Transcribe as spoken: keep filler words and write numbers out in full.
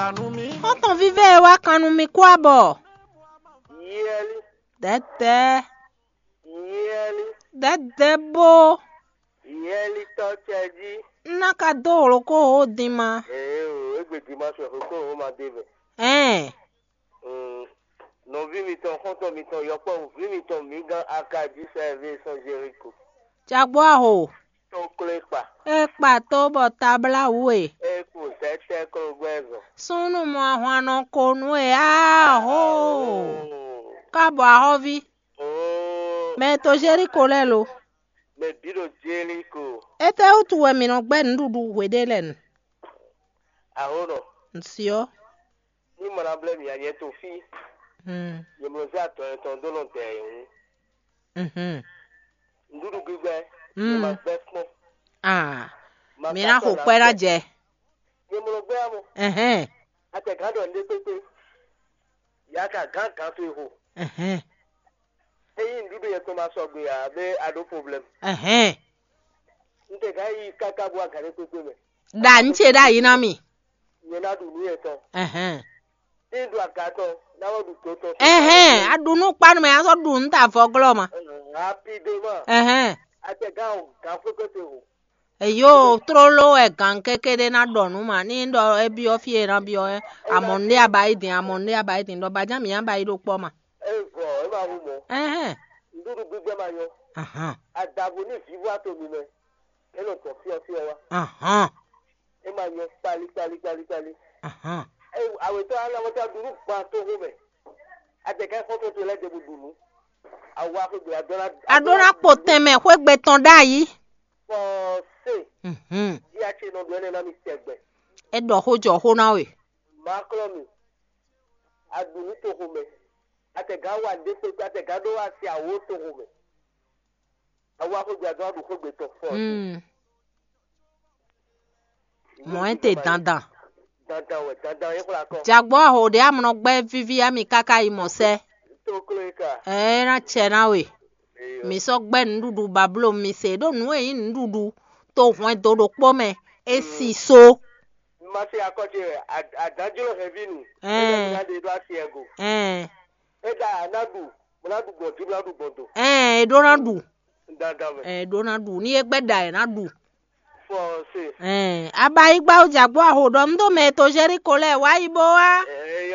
Xɔ́ntɔn vívɛ́ e wá kan nú mi kú abɔ. Yɛli, Dɛdɛ, yɛli, dɛdɛ bó. Yɛli tɔ́ cɛ jí. N ná ka dó hlokó hó din ma. Ee o, égbé dimanche hlokó hó ma dé vɛ. Ɛn. Mm, nɔví mitɔn, xɔ́ntɔn mitɔn, yɔkpɔ́vú mitɔn, mǐgán Akadi sɛ́vě sɔ́ Jeriko. Jagbó aho. Tó klé kpa. É kpa tó bɔ tablá wú e. É kú tɛ́tɛ́ kló gbɛ́ zɔn. Súnnu mɔ ahwan nɔ ko nú e aho. Oo. Ká bɔ ahɔ́ví. Oo. Mɛ to Jeriko lɛ́ɛ lo. Mɛ bǐ ɖo Jeriko. Étɛ́ wútu wɛ mǐ nɔ gbɛ́ nǔɖuɖu hweɖé lɛ́ɛ nu? Aho nɔ. Nsyɔ́. Ní mɔ ná blɛ́ mì ǎ, nyɛ to fí. Hmm. Nyɛ mlɔ zé atɔn yɛtɔn dó nɔ dɛ yě wú. Mhm. Nǔɖuɖu gbígbɛ, Mm. nyɛ ma gbɛ́ kpɔ́n. Ah. Ma Mi ka ná xo sɔ́ kwɛ́ ná ná gbɛ. Jɛ. Nyɛ mlɔ gbɛ́ amo. Ɛhɛn. Atɛ gǎn ɖɔ nɖé kpékpé. Ya ka gǎn gǎn to e xo. Ɛhɛn. Ényí nǔɖuɖu yɛtɔn ma sɔgbe ǎ, bɛ a ɖó problème. Ɛhɛn. Un tɛ gǎn yi káká bó wá gǎn ɖé kpékpé mɛ. Ɖa nǔ ce ɖ'ayǐ ná mì. Nyɛ ná ɖu nǔ yɛtɔn. Ɛhɛn. Ní ɖu aga tɔn, ná wá ɖu do tɔn. Ɛhɛn, a ɖu nú kpanu mɛ, a sɔ́ ɖu nú ta vɔglɔ́ ma. Rapidement. Ɛhɛn. Atɛ gǎn o, gǎn xwé kpé te o. Eyo, tlóló wɛ gǎn kéké ɖé ná ɖɔ nú ma. Ní ɖɔ é byɔ́ fí e é ná byɔ́ é, amɔ̌ ɖé a ba yi din, amɔ̌ ɖé a ba yi din, ɖɔ bajá mǐ á ba yi ɖó kpɔ́ ma. É vɔ, é ma hu mɔ. Ɛhɛn. Nǔɖuɖu gbígbɛ ma nyɔ. Ahan. Adavo ní vǐvɔ́ ato mi mɛ. É nɔ tɔ fyɔ́fyɔ́ wá. Ahan. É ma nyɔ kpali kpali kpali kpali. Ahan. É awetɔ ala wata ɖu nú gban to xo mɛ. Adɛgɛ xɔtɔ to lɛ de bu ɖu nú. Awa xo gbe adɔ na. A ɖó ná kpo tɛnmɛ xwé gbe tɔn ɖ'ayǐ. Fɔse. Mhm. Di a ce nɔ ɖu ɛnɛ na mi tɛgbɛ. É ɖɔ xó jɔ xó ná we. Maklɔ mi. A ɖu nú to xo mɛ. Atɛgá wa ɖe kpekpe, atɛgá ɖó wa si awo to xo mɛ. Awa xo gbe adɔ a ɖu xó gbe tɔn fɔ. Mm. Mɔ̌ é te dandan. Dandan wɛ, dandan é xwlá kɔ. Jagbɔ aho ɖe amlɔ gbɛ vivi ami kaka yi mɔ sɛ. Tó kló é ka. Ɛ na tsɛ na we. Eyo. Mi sɔ gbɛ nuɖuɖu bablo mi se ɖo nu e nyí nuɖuɖu to hwɛndo ɖokpó mɛ. E si so. Ma se akɔ ce wɛ, ad- adanjlo hɛn vi nu. Ɛɛ. Ena ɖe ɖo asi ego. Ɛɛ. E da na ɖu, mo na ɖu gbɔn di, mo na ɖu gbɔn do. Ɛɛ, e ɖo na ɖu. Dandan mɛ. Ɛɛ, e ɖo na ɖu. Ni e gbɛ da e na ɖu. Fɔ se. Ɛɛ, abayigba o jagbɔ aho ɖɔ ŋdo mɛ to Jeriko lɛ wa yi bo wa. Ɛɛ,